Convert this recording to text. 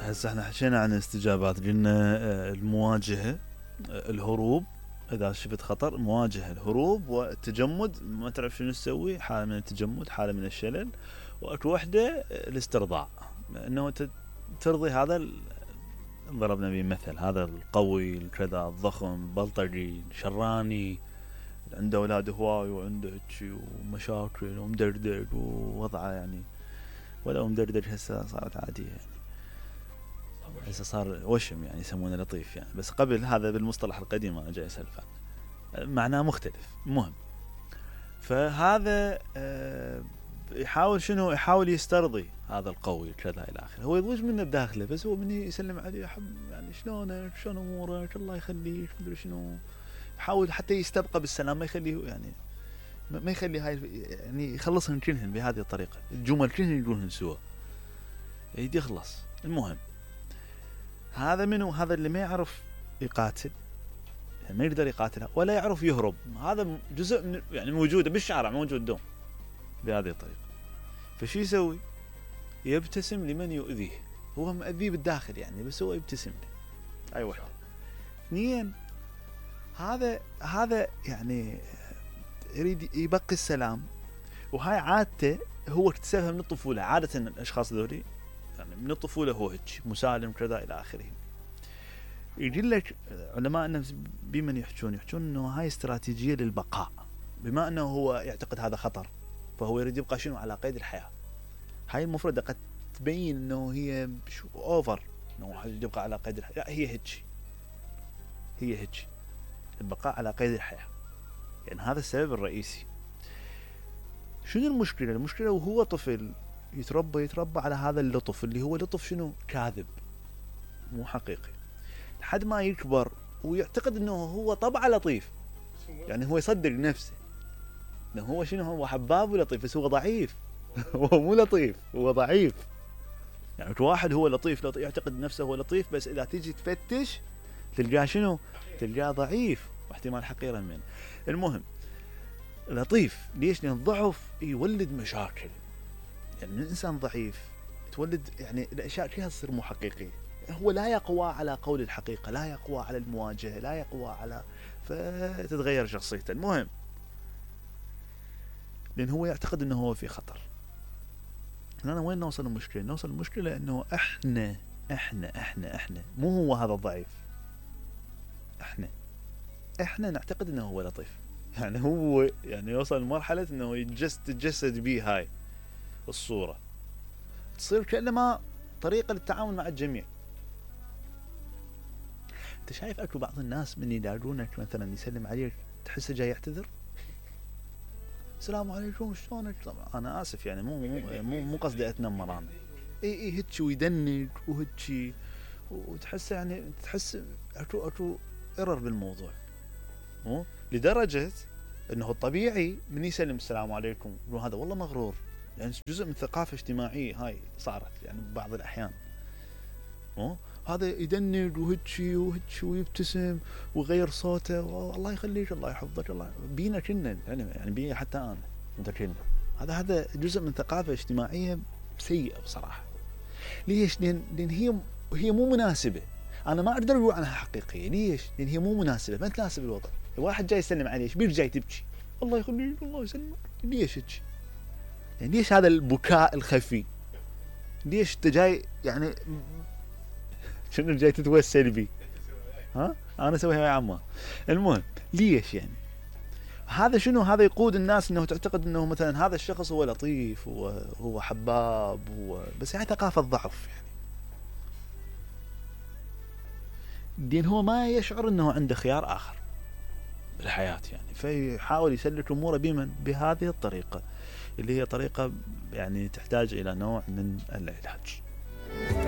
هسه احنا حكينا عن الاستجابات، قلنا المواجهة، الهروب اذا شفت خطر، مواجهة، الهروب، والتجمد، ما تعرف شنو تسوي، حالة من التجمد، حالة من الشلل، واكو وحدة الاسترضاع، انه ترضي هذا ضربنا به مثل، هذا القوي الكذا الضخم البلطجي شراني عنده اولاد هواي وعنده هيجي ومشاكل ومدردد ووضعه يعني، ولو مدردد هسه صارت عادية يعني، هسه صار وشم يعني يسمونه لطيف يعني، بس قبل هذا بالمصطلح القديم انا جاي اسولف معناه مختلف. المهم فهذا يحاول شنو، يحاول يسترضي هذا القوي كذا الى اخره، هو يضوج منه بداخله، بس هو من يسلم عليه يحب يعني شلونك شلون امورك الله يخليك مدري شنو، يحاول حتى يستبقى بالسلام، ما يخليه يعني ما يخلي هاي يعني يخلصهن كلهن بهذه الطريقه، الجمل كلهن يقولهن سوا يريد يخلص. المهم هذا منو؟ هذا اللي ما يعرف يقاتل يعني ما يقدر يقاتلها ولا يعرف يهرب، هذا جزء من يعني موجوده بالشارع، موجود دوم بهذه الطريقه. فشو يسوي؟ يبتسم لمن يؤذيه، هو مؤذيه بالداخل يعني، بس هو يبتسم له. اي واحد. اثنين، هذا يعني يريد يبقي السلام، وهاي عادته هو اكتسبها من الطفوله، عاده الاشخاص ذولي يعني من الطفوله هو هيك مسالم كذا الى اخره. يقول لك علماء النفس بمن يحجون انه هاي استراتيجيه للبقاء، بما انه هو يعتقد هذا خطر فهو يريد يبقى شنو على قيد الحياه. هاي المفردة قد تبين انه هي اوفر، انه يبقى على قيد الحياه، لا هي هيك البقاء على قيد الحياه، يعني هذا السبب الرئيسي. شنو المشكله؟ المشكله وهو طفل يتربى على هذا اللطف، اللي هو لطف شنو؟ كاذب مو حقيقي، لحد ما يكبر ويعتقد انه هو طبعه لطيف، يعني هو يصدق نفسه انه هو شنو، هو حباب ولطيف، بس هو ضعيف هو مو لطيف، هو ضعيف. يعني واحد هو لطيف يعتقد نفسه هو لطيف، بس اذا تيجي تفتش تلقاه شنو؟ تلقاه ضعيف واحتمال حقيرا منه. المهم لطيف ليش؟ لان الضعف يولد مشاكل، يعني من الانسان ضعيف تولد يعني الاشياء كلها تصير مو حقيقيه، هو لا يقوى على قول الحقيقه، لا يقوى على المواجهه، لا يقوى على، فتتغير شخصيته. المهم لان هو يعتقد انه هو في خطر. هنا وين نوصل المشكله؟ نوصل المشكله انه احنا مو هو هذا الضعيف، احنا نعتقد انه هو لطيف، يعني هو يعني يوصل لمرحله انه يتجسد به هاي الصوره، تصير كأنما طريقه للتعامل مع الجميع. انت شايف اكو بعض الناس من يلاقونك مثلا يسلم عليك تحسه جاي يعتذر، السلام عليكم شلونك، طبعا انا اسف يعني مو قصدي اتنمر انا، اي هيك ويدنك وهيك، وتحس يعني تحس اكو ايرور بالموضوع، مو لدرجه انه الطبيعي من يسلم السلام عليكم هذا والله مغرور، يعني جزء من ثقافه اجتماعيه هاي صارت يعني بعض الاحيان، مو هذا يدنق وهيك ويبتسم ويغير صوته، الله يخليك الله يحفظك الله بينا كنا يعني بينا حتى انا متكلم، هذا جزء من ثقافه اجتماعيه سيئه بصراحه. ليش؟ لان هي مو مناسبه، انا ما اقدر اقول عنها حقيقيه. ليش؟ لان هي مو مناسبه، ما تناسب الوضع. الواحد جاي يسلم عليه ايش بيك جاي تبكي؟ الله يخليك الله يسلمك، ليش هيك؟ يعني ليش هذا البكاء الخفي؟ ليش انت جاي يعني شنو جاي تتوسل بي؟ ها انا اسويها يا عمه. المهم ليش يعني هذا شنو؟ هذا يقود الناس انه تعتقد انه مثلا هذا الشخص هو لطيف هو حباب بس هاي ثقافه ضعف يعني، لان هو ما يشعر انه عنده خيار اخر بالحياه يعني، فيحاول يسلك اموره بهذه الطريقه اللي هي طريقه يعني تحتاج الى نوع من العلاج.